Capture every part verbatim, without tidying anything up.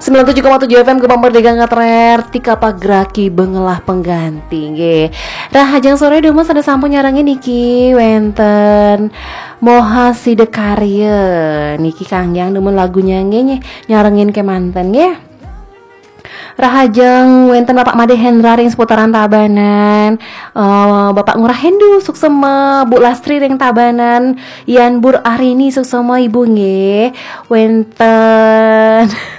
Sembilan tujuh koma tujuh F M Gema Merdeka ngetrer, tika pagraki bengelah pengganti nggih. Rahajeng sore dumun, sampun nyarengin niki wenten Moha Sidakarya niki, kanggeng dumun lagunya nggih, nyarengin kemanten nggih. Rahajeng wenten Bapak Made Hendra ring seputaran Tabanan, eh, Bapak Ngurah Hendu suksema, Bu Lastri ring Tabanan, Yan Bur Arini suksema Ibu nggih. Wenten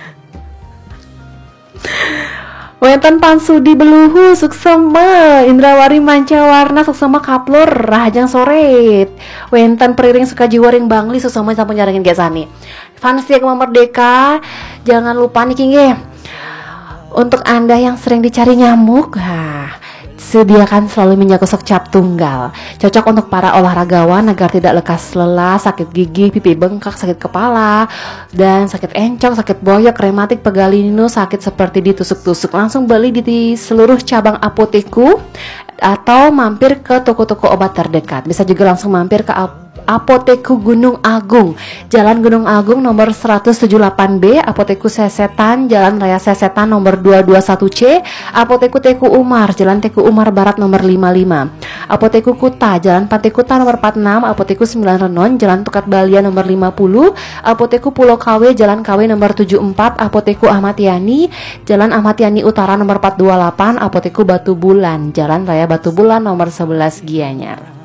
Wenten Pan Sudi Beluhu suksema, Indrawari Mancawarna suksema kaplur, rahajeng sore. Wenten Periring Sukajiwa ring Bangli suksema, sampun nyarengin gesani. Fans setia Gema Merdeka, jangan lupa niki nggih. Untuk Anda yang sering dicari nyamuk, ha, sediakan selalu minyak gosok cap tunggal. Cocok untuk para olahragawan agar tidak lekas lelah, sakit gigi, pipi bengkak, sakit kepala, dan sakit encok, sakit boyok, rematik, pegal linu, sakit seperti ditusuk-tusuk. Langsung beli di seluruh cabang Apotekku atau mampir ke toko-toko obat terdekat. Bisa juga langsung mampir ke ap- Apotekku Gunung Agung, Jalan Gunung Agung nomor seratus tujuh delapan B, Apotekku Sesetan, Jalan Raya Sesetan nomor dua dua satu C, Apotekku Teku Umar, Jalan Teku Umar Barat nomor lima lima, Apotekku Kuta, Jalan Pantai Kuta nomor empat enam, Apotekku Sembilan Renon, Jalan Tukad Balia nomor lima puluh, Apotekku Pulau Kawe, Jalan Kawe nomor tujuh empat, Apotekku Ahmad Yani, Jalan Ahmad Yani Utara nomor empat dua delapan, Apotekku Batu Bulan, Jalan Raya Batu Bulan nomor sebelas Gianyar.